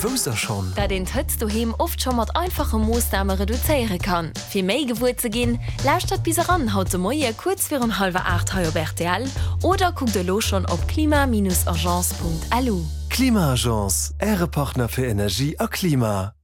Wousst der schonn? Dat een d'Hëtzt doheem oft scho mat einfache Moossname reduzéiere kann. Fir méi gewuer ze ginn, lauschtert bis eran haut de Moie kuerz virun hallwer 8 hei op rtl oder kuckt elo schonn op klima-agence.lu. Klima-Agence, Äre Partner fir Energie a Klima.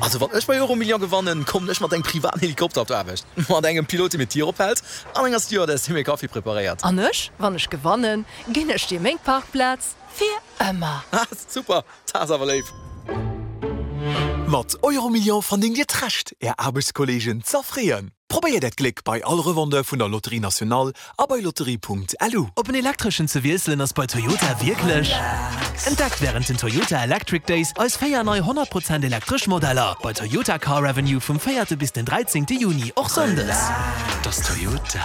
Also wann ech bei Euromillion gewannen, kommen ech mat engem privaten Helikopter op d'Aarbecht, mat engem Pilot dee mir d'Dier ophält an enger Stewardess déi mir Kaffi preparéiert. An ech, wann ech gewannen, ginn ech dir meng Parkplaz fir ëmmer. Ha super, dat ass awer léif. Mat Euromillion verdéngt Dir d'Recht, Är Aarbechtskolleegen z'erfreeën. Probéiert Äert Gléck bei all Revendeur vun der Loterie Nationale a bei lotterie.lu. Op en elektreschen ze wiesselen ass bei Toyota wierklech. Entdeckt wärend den Toyota Electric Days eis 4 nei 100 Prozent elektresch Modeller bei Toyota Car Avenue vum 4 bis den 13 Juni, och Sonndes. Dass Toyota.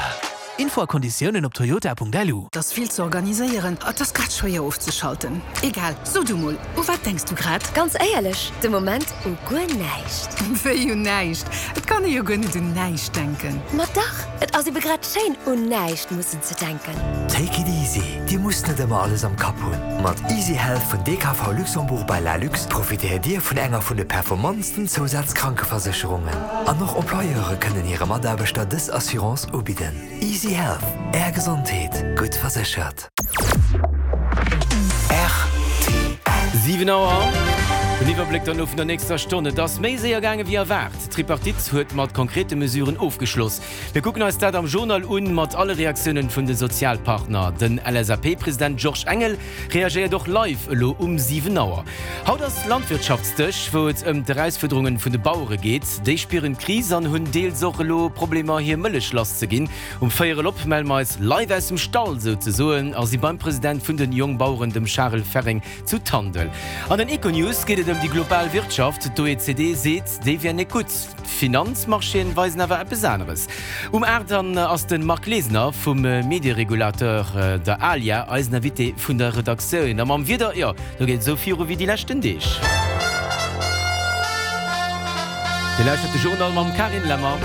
Info a Konditiounen op toyota.lu. 't ass vill ze organiséieren, et ass grad schwéier ofzeschalten. Egal, so du mol, u wat denks du grad? Ganz éierlech, de Moment u guer näischt. Wéi un näischt? Et kann ee jo guer net un näischt denken. Ma dach, et ass ebe grad schéin, un näischt mussen ze denken. Take it easy, Dir musst net ëmmer alles am Kapp hunn. Mat Easy Health vun DKV Luxembourg by Lalux profitéiert Dir vun enger vun de performantsten Zousazkrankeversécherungen. An och Employeure kënnen hire Mataarbechter dës Assurance ubidden. Easy Health, Är Gesondheet, gutt verséchert. Rtl. 7 Auer, Den Iwwerbléck dann elo vun der nächster Stonn. Et ass méi séier gaange wéi erwaart. D'Tripartite huet mat konkrete Mesuren ofgeschloss. Mir kucken eis dat am Journal un, mat alle Reaktiounen vun de Sozialpartner. Den LSAP-President Georges Engel reagéiert och live elo um 7 Auer. Haut ass Landwirtschaftsdeg, wou et ëm d'Erausfuerderungen vun de Bauere geet. Déi spieren d'Kris an hunn deels och elo Problemer hir Mëllech lass ze ginn. Um Véierel op melle mer eis live aus dem Stall souzesoen a si beim President vun den Jongbaueren, dem Charel Ferring zu Tandel. An den Econews geet et ëm déi global Wirtschaft. D'OECD seet, déi wär net gutt. D'Finanzmarchéen weisen awer eppes aneres. Um 8 dann ass de Marc Glesener vum Medieregulateur, der ALIA, eisen Invité vun der Redaktioun. A mam Wieder, jo, do geet et esou viru wéi déi leschten Deeg. Dir lauschtert de Journal mam Carine Lemmer.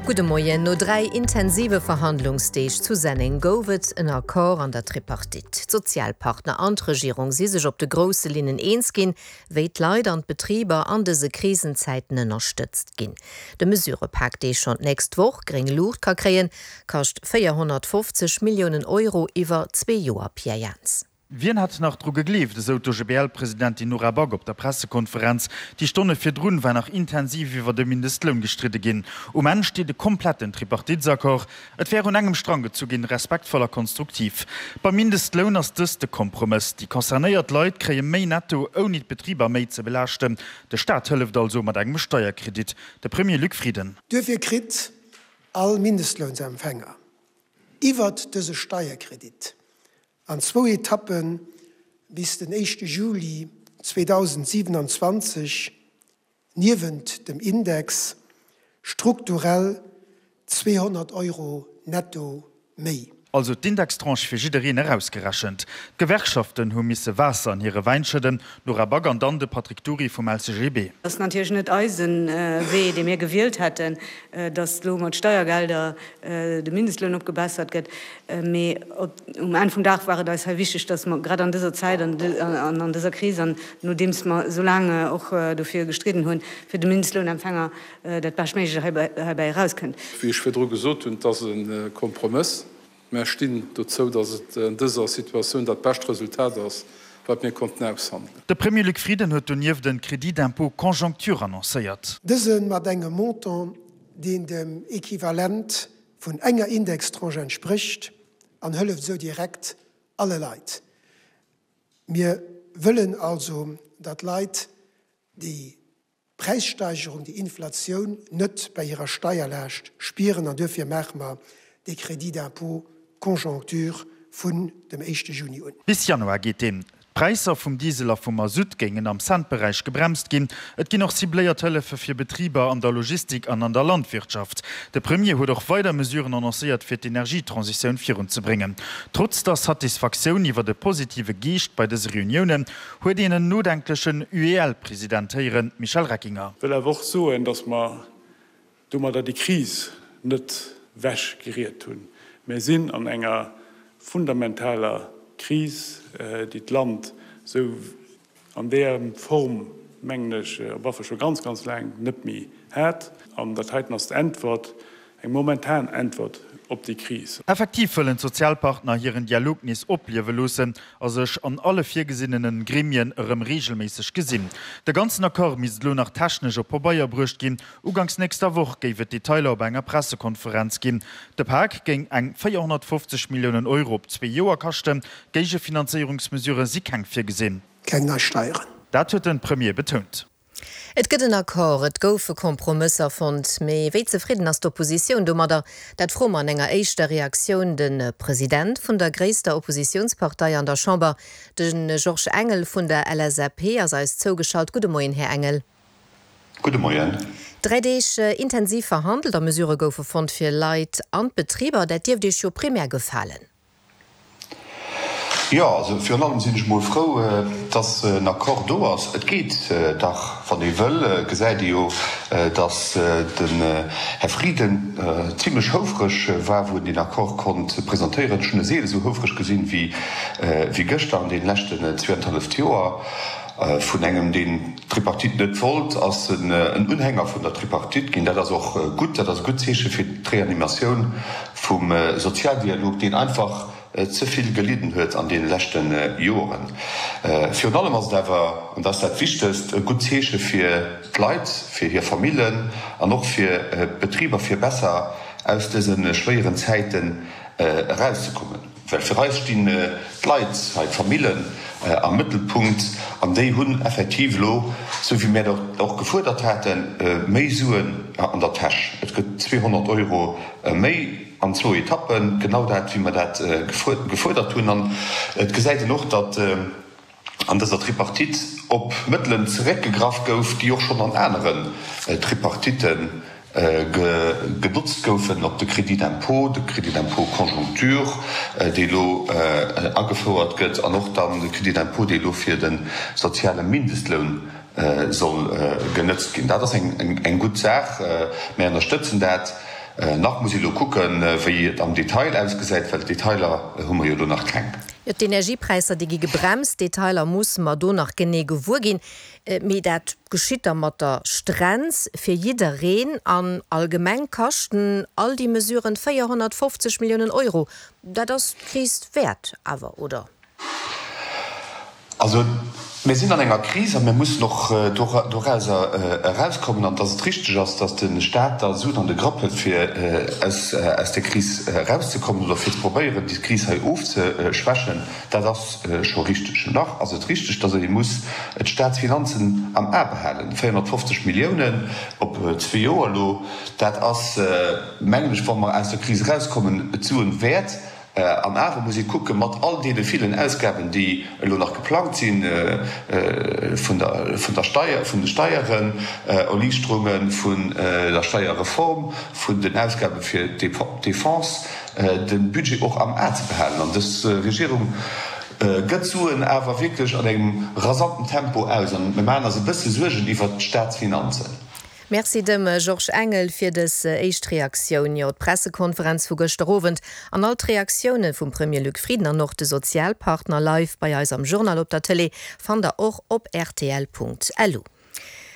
Gudde Moien. No 3 intensive Verhandlungsdeeg zu Senneng gouf et en Accord an der Tripartite. D'Sozialpartner an d'Regierung si sech op de grousse Linnen eens ginn, wéi d'Leit an d'Betriber an dëse Krisenzäiten ënnerstëtzt ginn. De Mesurëpak, dee schonn d'nächst Woch gréng Luucht ka kréien, kascht 450 Milliounen Euro iwwer zwee Joer. Pierre Jans. Wien hätt nach dru gegleeft, esou d'OGBL-Presidentin Nora Back op der Pressekonferenz. Déi Stonne virdrun war nach intensiv iwwer de Mindestloun gestridde ginn. Um Enn steet e kompletten Tripartitesaccord. Et wär un engem Strang gezu ginn, respektvoll a konstruktiv. Beim Mindestloun ass dëst de Kompromëss. Déi concernéiert Leit kréie méi netto, ouni d'Betriber méi ze belaaschten. De Staat hëlleft also mat engem Steierkredit. De Premier Luc Frieden. Duerfir kritt all Mindestlounsempfänger iwwert dëse Steierkredit an zwou Etappe bis den éischte Juli 2027 niewent dem Index strukturell 200 Euro netto méi. Also d'Indextranche fir jiddereen erausgerechent. D'Gewerkschaften hu misse Waasser an hire Wäin schëdden, d'Nora Back an dann de Patrick Dury vum LCGB. Ass natierlech net eise Wee, dee mir gewielt hätten, datt elo mat Steiergelder de Mindestloun opgebessert gëtt. Mee um Enn vum Dag war et eis hei wichteg, datt mer grad an dëser Zäit an an dëser Kris an nodeems mer esou laang och dofir gestridden hunn, fir de Mindestlounempfänger dat Beschtméiglecht heibäi erauskënnt. Wéi ech virdru gesot hunn, et ass e Kompromëss. Mär stinn dozou, datt et an dëser Situatioun dat bescht Resultat ass, wat mir konnten aushandelen. De Premier Luc Frieden huet donieft en Crédit d'impôt conjoncture annoncéiert. Dëse mat engem Montant, deen dem Equivalent vun enger Indextranche entsprécht an hëlleft esou direkt alle Leit. Mir wëllen also, datt Leit déi Präissteigerung, déi Inflatioun net bei hirer Steierlaascht spieren an duerfir maache mer dee Crédit d'impôt conjoncture vun dem éischte Juni un. Bis Januar geet deen. D'Präisser vum Diesel a vum Masutt géingen am Cent-Beräich gebremst ginn. Et ginn och cibléiert Hëllefe fir Betriber an der Logistik an an der Landwirtschaft. De Premier huet och weider Mesuren annoncéiert, fir d'Energietransitioun virunzebréngen. Trotz der Satisfaktioun iwwer de positive Geescht bei dëse Reuniounen, huet een en nodenklechen UEL-President héieren, Michel Reckinger. Wëll awer och soen, datt mer domadder déi Kris net wech geriet hunn. Mär sinn an enger fundamentaler Kris, déi d'Land. Esou an där Form, mengen ech, op alle Fall scho ganz, ganz laang net méi hat. An dat heiten ass d'Äntwert, eng momentan Äntwert op déi Kris. Effektiv wëllen d'Sozialpartner hiren Dialog nees opliewe loossen a sech an alle virgesinnene Gremien erëm reegelméisseg gesinn. De ganzen Accord misst elo nach technesch op Pabeier bruecht ginn. Uganks nächster Woch géif et Detailer op enger Pressekonferenz ginn. De Pak géing eng 450 Milliounen Euro op zwee Joer kaschten. Géigefinanzéierungsmesurë si keng virgesinn. Keng nei Steieren. Dat huet de Premier betount. Et gëtt en Accord, et goufe Kompromësser fonnt. Mee wéi zefridden ass d'Oppositioun domadder? Dat froe mer an enger éischter Reaktioun de President vun der gréisster Oppositiounspartei an der Chamber, de Georges Engel vun der LSAP ass eis zougeschalt. Gudde Moien, Här Engel. Gudde Moien. Dräi Deeg intensiv verhandelt a Mesurë goufe fonnt fir Leit an d'Betriber. Dat dierft Iech jo primär gefalen. Jo, also virun allem sinn ech mol frou, dass en Accord do ass. Et geet dach, wann ee wëll. Gesäit ee jo, dass den Här Frieden zimlech houfreg war, wou en deen Accord konnt presentéieren. Ech hunn e seele sou houfreg gesinn wéi gëschter an deene leschten zweeanenhalleft Joer. Vun engem, deen d'Tripartite net wollt, ass en Unhänger vun der Tripartite ginn. Dat ass och gutt, dat ass e gutt Zeeche fir d'Reanimatioun vum Sozialdialog, deen einfach ze vill gelidden huet an deene leschte Joren. Virun allem ass et awer, an dat ass dat Wichtegst, e gutt Zeeche fir d'Leit, fir hir Famillen an och fir d'Betriber, fir besser aus dëse schwéieren Zäiten erauszekommen. Well fir eis stinn d'Leit hei, d'Famillen am Mëttelpunkt an déi hunn effektiv elo, esou wéi mir dat och gefuerdert haten, méi Suen an der Täsch. Et gëtt 200 Euro méi an zwou Etappen, genau dat, wéi mer dat gefuerdert hunn. An et gesäit een och, datt an dëser Tripartite op Mëttelen zeréckgegraff gouf, déi och schonn an aneren Tripartitte genotzt goufen, op de Crédit d'impôt, de Crédit d'impôt conjoncture, dee elo agefouert gëtt, an och dann de Crédit d'impôt, dee elo fir de soziale Mindestloun soll genëtzt ginn. Dat ass eng gutt Saach. Mir ënnerstëtzen dat. Nach muss ee elo kucken, wéi et am Detail ausgesäit, well d'Detailer hu mer jo elo nach keng. Jo, d'Energiepräisser, déi gi gebremst. D'Detailer musse mer do nach genee gewuer ginn. Mee dat geschitt da mat der Strenz fir jiddereen. An allgemeng kaschten all déi Mesuren 450 Milliounen Euro. Dat ass d'Kris wäert awer, oder? Also, mir sinn an enger Kris a mir mussen och dorauser erauskommen. An dass et richteg ass, dass de Stat da Suen an de Grapp huet, fir aus där Kris erauszekommen oder fir ze probéieren, déi Kris hei ofzeschwächen, dat ass scho richteg. Nach ass et richteg, dass ee muss d'Statsfinanzen am A behalen. 450 Milliounen op zwee Joer elo, dat ass, mengen ech, wa mer aus der Kris erauskommen, d'Suen wäert. An awer muss ee kucken, mat all deene villen Ausgaben, déi elo nach geplangt si vun der Steier, vun de Steieren, Erliichterunge vun der Steierreform, vun den Ausgabe fir d'Defense, de Budget och am A ze behalen. An dës Regierung gëtt d'Suen awer wierklech an engem rasanten Tempo aus. An mir maachen eis e bësse Suergen iwwert d'Staatsfinanzen. Merci dem Georges Engel fir dës éischt Reaktioun. Jo, d'Pressekonferenz vu gëschter Owend an all d'Reaktioune vum Premier Luc Frieden an och de Sozialpartner live bei eis am Journal op der Tëlee fannt der och op rtl.lu.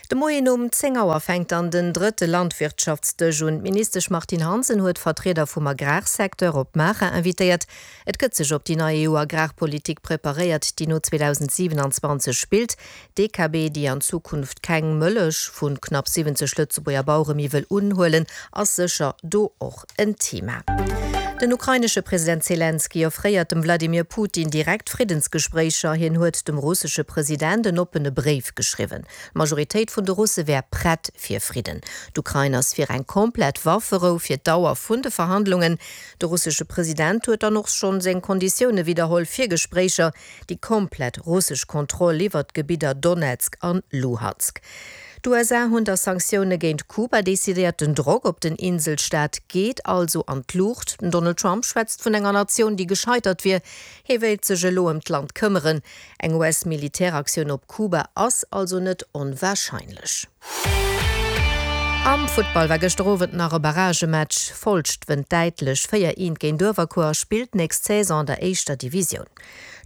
De Moien um 10 Auer fänkt dann den drëtte Landwirtschaftsdësch un. D'Ministesch Martine Hansen huet Vertrieder vum Agrarsecteur op Maacher invitéiert. Et gëtt sech op déi nei EU-Agrarpolitik preparéiert, déi no 2027 spillt. D'DKB, déi an Zukunft keng Mëllech vu knapp 70 Lëtzebuerger Bauere méi wëll unhuelen, ass sécher do och en Thema. Den ukrainesche President Zelenskyj offréiert dem Wladimir Putin direkt Friddensgespréicher. Hien huet dem russesche President en oppene Bréif geschriwwen. D'Majoritéit vun de Russe wär prett fir Fridden. D'Ukrain ass fir eng komplett Wafferou fir d'Dauer vun de Verhandlungen. De russesche President huet dann och schonn seng Konditioune widderholl fir Gespréicher. Déi komplett russesch Kontroll iwwert d'Gebidder Donezk an Luhansk. D'USA hunn da Sanktioune géint Kuba decidéiert. Den Drock op den Inselstaat geet also an d'Luucht. Den Donald Trump schwätzt vun enger Natioun, déi gescheitert wier. Hie wéilt sech elo ëm d'Land këmmeren. Eng US-Militäraktioun op Kuba ass also net onwarscheinlech. Am Futtball war gëschter Owend nach e Barragematch. Folscht wënnt däitlech 4, 1 géint Uewerkuer a spillt nächst Saison an der éischter Divisioun.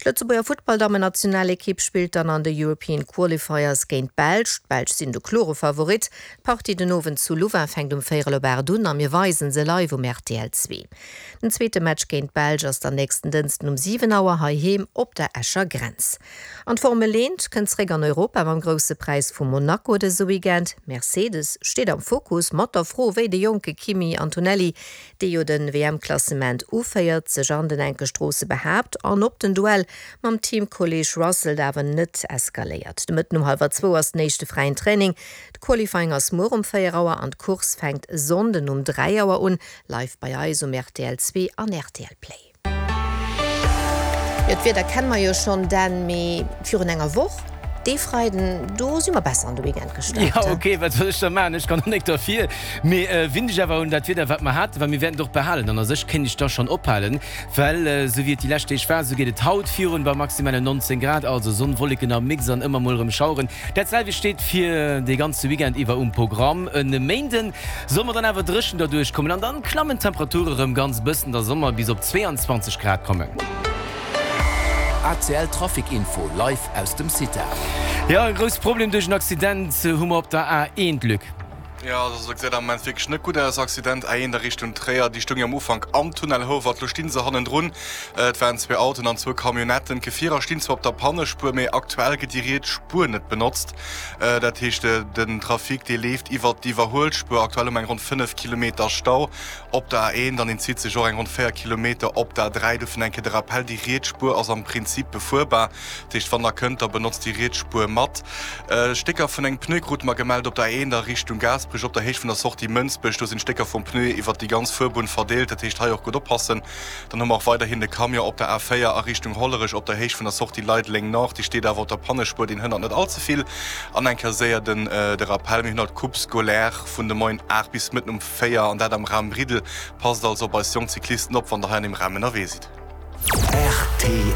D'Lëtzebuerger Futtballdammen-Nationalekipp spillt dann an de European Qualifiers géint d'Belsch. D'Belsch sinn de klore Favorit. D'Partie den Owend zu Louvain fänkt um véierel op 8 un a mir weisen se live um rtl 2. Den zweete Match géint d'Belsch ass dann nächsten Dënsten um 7 Auer heiheem op der Escher Grenz. An d'Formel 1 kënnt zeréck an Europa mam Grousse Präis vu Monaco dëse Weekend. Mercedes steet am Fokus mat der Fro, wéi de jonke Kimi Antonelli, dee jo de WM-Klassement uféiert, sech an den enke Stroosse behaapt an ob den Duell mam Teamkolleeg Russell awer net eskaléiert. De Mëtten um hallwer zwou ass den éischte fräien Training. De Qualifying ass muer um 4 Auer an d'Course fänkt e Sonnden um 3 Auer un, live bei eis um rtl 2 an rtl Play. Jo, d'Wieder kenne mer jo schonn, Dan, mee virun enger Woch, dee Freiden, do si mer besser an de Weekend gestart. Jo, ok, wat soll ech da maachen? Ech kann och nik derfir. Mee winn dech awer un dat Wieder, wat mer haten, well mir wäerten et och behalen. An a sech kéint ech da schonn ophalen, well esou wéi et déi lescht Deeg war, esou geet et haut virun, bei maximalen 19 Grad, also Sonn, Wolleken am Mix an ëmmer mol erëm Schaueren. Dat selwecht steet fir de ganze Weekend iwwer um Programm. E Méinden soll mer dann awer dréchen derduerch kommen an dann klammen d'Temperature rëm ganz bëssen, da soll mer bis op 22 Grad kommen. ACL Trafic Info live aus dem CITA. Jo, e grousse Problem duerch en Accident hu mer op der A1, Luc. Jo, also et gesäit am Moment wierklech net gutt aus. Accident A1 a Richtung Tréier, déi stoung jo am Ufank am Tunnel Houwald, lo sti se hannendrun. Et waren zwee Autoen an zwou Camionnetten. D'Gefierer stinn zwar op der Pannespuer, mee aktuell gëtt déi riets Spuer net benotzt. Dat heescht, den Trafic, dee leeft iwwert d'Iwwerhuelspuer. Aktuell hu mer eng ronn 5 Kilometer Stau op der A1 an deen zitt sech och eng ronn 4 Kilometer op der A3. Dofir eng Kéier de Rappell, déi riets Spuer ass am Prinzip befuerbar. Dat heescht, wann der kënnt, da benotzt déi riets Spuer mat. Stécker vun engem Pneu krute mer gemellt op der A1 a Richtung Gaasperech op der Héicht vun der Sortie Mënsbech. Do sinn Stécker vum Pneu iwwert déi ganz Fuerbunn verdeelt, dat heescht hei och gutt oppassen. Dann hu mer och weiderhin de Camion op der A4 a Richtung Hollerech op der Héicht vun der Sortie Leideleng Nord. Dee steet awer op der Pannespuer, deen hënnert net all ze vill. An eng Kéier séier den de Rappel, mir hunn haut d'Coupe scolaire vun de Moien 8 bis mëtten um 4 an dat am Raum Briddel. Passt also op eis jonk Cyclisten op, wann der hei an deem Raum ënnerwee sidd. Rtl.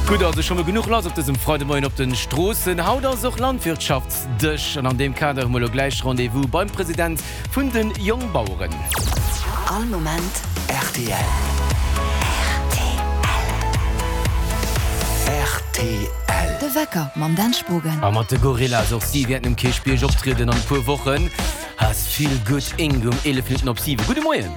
Gutt, also scho mol genuch lass op dësem Freidemoien op den Stroossen. Haut ass och Landwirtschaftsdësch an an deem Kader hu mer elo gläich Rendez-vous beim President vun den Jongbaueren. All Moment rtl. Rtl. De Wecker mam Dan Spogen. A mat de Gorillaz, och si wäerten um Kierchbierg optrieden an e puer Wochen. Has Feel Good Inc. Um 11 Minutten op 7. Gudde Moien.